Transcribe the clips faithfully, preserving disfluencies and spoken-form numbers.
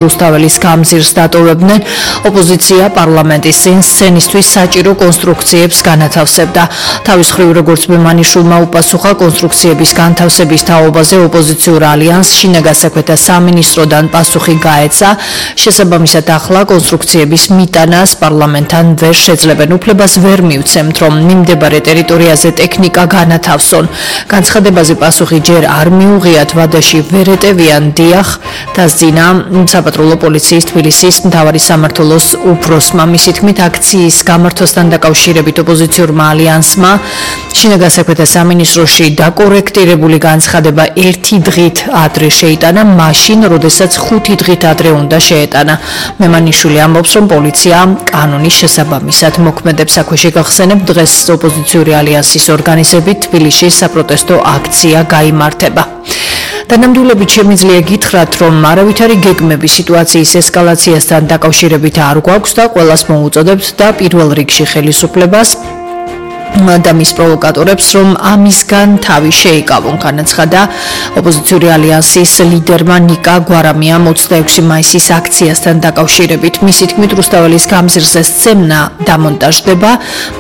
რუსთაველის გამზირს დატოვებდნენ, ოპოზიცია პარლამენტის წინ სცენისთვის საჭირო კონსტრუქციებს განათავსებდა. თავის მხრივ, როგორც მემანიშვილმა უპასუხა კონსტრუქციების განთავსების თაობაზე ოპოზიციურ ალიანსს შინაგასაქმეთა სამინისტროდან პასუხი გაეცა. შესაბამისად, ახლა კონსტრუქციების მიტანას პარლამენტთან ვერ შეძლებენ. უფლებას ვერ მივცემთ, რომ მიმდებარე ტერიტორიაზე ტექნიკა განათავსონ. განცხადებაზე პასუხი ჯერ არ მიუღიათ, ვადაში ვერ ეტევიან. დიახ, დასძინა საპატრულო პოლიციის თბილისის მთავარი სამმართველოს უფროსმა. მისი თქმით, აქციის გამართვასთან დაკავშირებით ოპოზიციურმა ალიანსმა შინაგასაქმეთა სამინისტროში დაკორექტირებული განცხადება ერთი დღით ადრე შეიტანა, მაშინ, როდესაც ხუთი დღით ადრე უნდა შეეტანა. მემანიშვილი ამბობს, რომ პოლიცია კანონის შესაბამისად მოქმედებს. აქვე შეგახსენებთ, დღეს ოპოზიციური ალიანსის ორგანიზებით თბილისში საპროტესტო აქცია გაიმართება. დანამდვილებით შემიძლია გითხრათ, რომ არავითარი გეგმები სიტუაციის ესკალაციასთან დაკავშირებით არ გვაქვს და ყველას მოუწოდებთ და პირველ რიგში ხელისუფლებას და მის პროვოკატორებს, რომ ამისგან თავი შეიკავონ. განაცხადა ოპოზიციური ალიანსის ლიდერმა ნიკა გვარამიამ ოცდაექვსი მაისის აქციასთან დაკავშირებით. მისი თქმით, რუსთაველის გამზირზე სცენა დამონტაჟდება,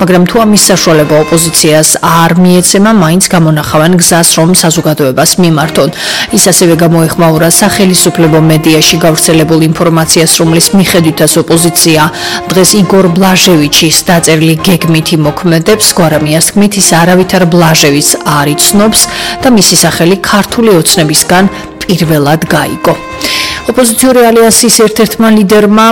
მაგრამ თუ ამის საშუალება ოპოზიციას არ მიეცემა, მაინც გამონახავენ გზას, რომ საზოგადოებას მიმართონ. ის ასევე გამოეხმაურა სახელისუფლებო მედიაში გავრცელებულ ინფორმაციას, რომლის მიხედვითაც ოპოზიცია დღეს იგორ ბლაჟევიჩის დაწერილი გეგმით იმოქმედებს. გვარამიას თქმით, ის არავითარ ბლაჟევიჩს არ იცნობს და მისი სახელი ქართული ოცნებისგან პირველად გაიგო. ოპოზიციური ალიანსის ერთ-ერთმა ლიდერმა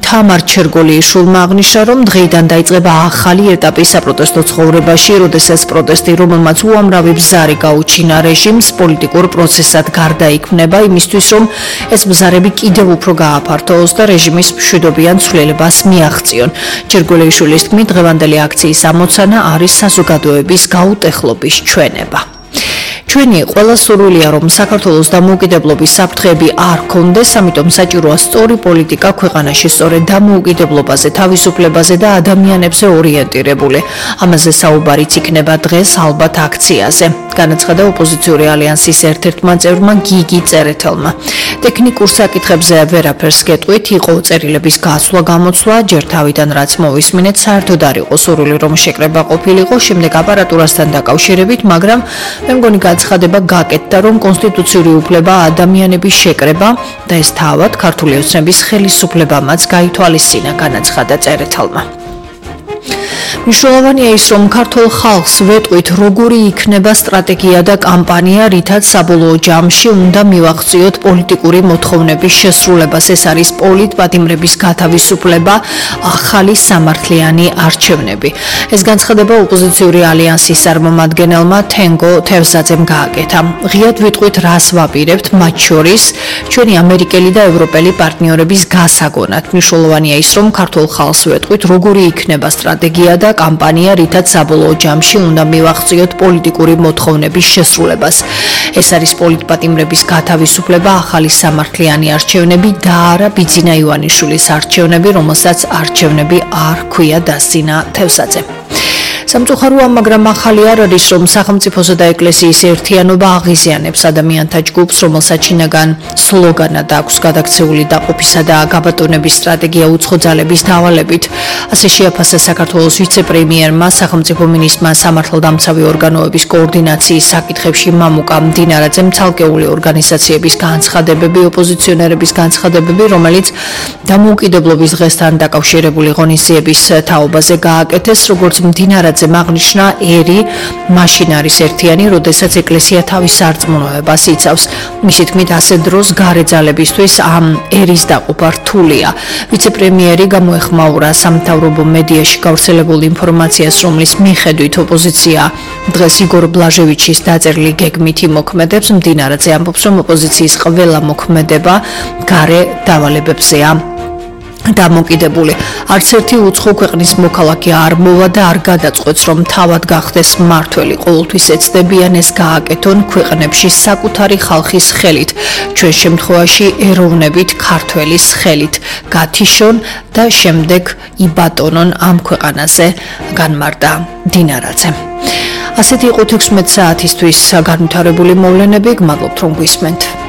თამარ ჩერგოლიიშვილმა აღნიშნა, რომ დღეიდან დაიწყება ახალი ეტაპი საპროტესტო ცხოვრებაში, როდესაც პროტესტი, რომელმაც უამრავი ბზარი გაუჩინა რეჟიმს, პოლიტიკურ პროცესად გარდაიქმნება იმისთვის, რომ ეს ბზარები კიდევ უფრო გააფართოოს და რეჟიმის მშვიდობიან ცვლილებას მიაღწიონ. ჩერგოლიიშვილის თქმით, დღევანდელი აქციის ამოცანა არის საზოგადოების გაუტეხლობის ჩვენება. ჩვენი ყველა სურვილია, რომ საქართველოს დამოუკიდებლობის საფრთხეები არ ქონდეს, ამიტომ საჭიროა სწორი პოლიტიკა ქვეყანაში, სწორედ დამოუკიდებლობაზე, თავისუფლებაზე და ადამიანებზე ორიენტირებული. ამაზე საუბარიც იქნება დღეს ალბათ აქციაზე. განაცხადა ოპოზიციური ალიანსის ერთ-ერთმა წევრმა გიგი წერეთელმა. ტექნიკურ საკითხებზე ვერაფერს გეტყვით, იყო წერილების გასვლა გამოცვლა, ჯერ თავიდან რაც მოვისმინეთ, საერთოდ არ იყო სურვილი, რომ შეკრება ყოფილიყო, შემდეგ აპარატურასთან დაკავშირებით, მაგრამ მე მგონი განცხადება გაკეთდა, რომ კონსტიტუციური უფლება ადამიანების შეკრება და ეს თავად ქართული ოცნების ხელისუფლებამაც გაითვალისწინა, განაცხადა წერეთელმა. მნიშვნელოვანია ის, რომ ქართულ ხალხს ვეტყვით, როგორი იქნება სტრატეგია და კამპანია, რითაც საბოლოო ჯამში უნდა მივახციოთ პოლიტიკური მოთხოვნების შესრულებას. ეს არის პოლიტპატიმრების გათავისუფლება, ახალი სამართლიანი არჩევნები. ეს განცხადება ოპოზიციური ალიანსის წარმომადგენელმა თენგო თევზაძემ გააკეთა. ღიად ვიტყვით, რას ვაპირებთ, მათ შორის ჩვენი ამერიკელი და ევროპელი პარტნიორების გასაგონად. მნიშვნელოვანია ის, რომ ქართულ ხალხს ვეტყვით, როგორი იქნება სტრატეგია და კამპანია, რითაც საბოლოო ჯამში უნდა მივახციოთ პოლიტიკური მოთხოვნების შესრულებას. ეს არის პოლიტპატიმრების გათავისუფლება, ახალი სამართლიანი არჩევნები და არა ბიძინა ივანიშვილის არჩევნები, რომელსაც არჩევნები არ ჰქვია, დასძინა თევზაძე. სამწუხაროა, მაგრამ ახალი არ არის, რომ სახელმწიფოსა და ეკლესიის ერთიანობა აღიზიანებს ადამიანთა ჯგუფს, რომელსაც შინაგან სლოგანად აქვს გადაქცეული დაყოფისა და გაბატონების სტრატეგია უცხო ძალების დავალებით. ასე შეაფასა საქართველოს ვიცე-პრემიერმა, სახელმწიფო მინისტრმა სამართალდამცავი ორგანოების კოორდინაციის საკითხებში მამუკა მდინარაძემ ცალკეული ორგანიზაციების განცხადებები, ოპოზიციონერების განცხადებები, რომელიც დამოუკიდებლობის დღესთან დაკავშირებული ღონისძიების თაობაზე გააკეთეს, როგორც მდინარაძე აღნიშნა, ერი მაშინ არის ერთიანი, როდესაც ეკლესია თავის სარწმუნოებას იცავს. მისი თქმით, ასე დროს გარე ძალებისთვის ამ ერის დაყოფა რთულია. ვიცე-პრემიერი გამოეხმაურა სამთავრობო მედიაში გავრცელებულ ინფორმაციას, რომლის მიხედვით ოპოზიცია დღეს იგორ ბლაჟევიჩის დაწერილი გეგმით იმოქმედებს. მდინარაძე ამბობს, რომ ოპოზიციის ყველა მოქმედება გარე დავალებებზეა დამოკიდებული. არც ერთი უცხო ქვეყნის მოქალაქე არ მოვა და არ გადაწყვეტს, რომ თავად გახდეს მმართველი. ყოველთვის ეცდებიან ეს გააკეთონ ქვეყნებში საკუთარი ხალხის ხელით, ჩვენ შემთხვევაში ეროვნებით ქართველის ხელით, გათიშონ და შემდეგ იბატონონ ამ ქვეყანაზე, განმარტა დინარაძე. ასეთი იყო თექვსმეტ საათისთვის განვითარებული მოვლენები, გმადლობთ რომ გვისმენთ.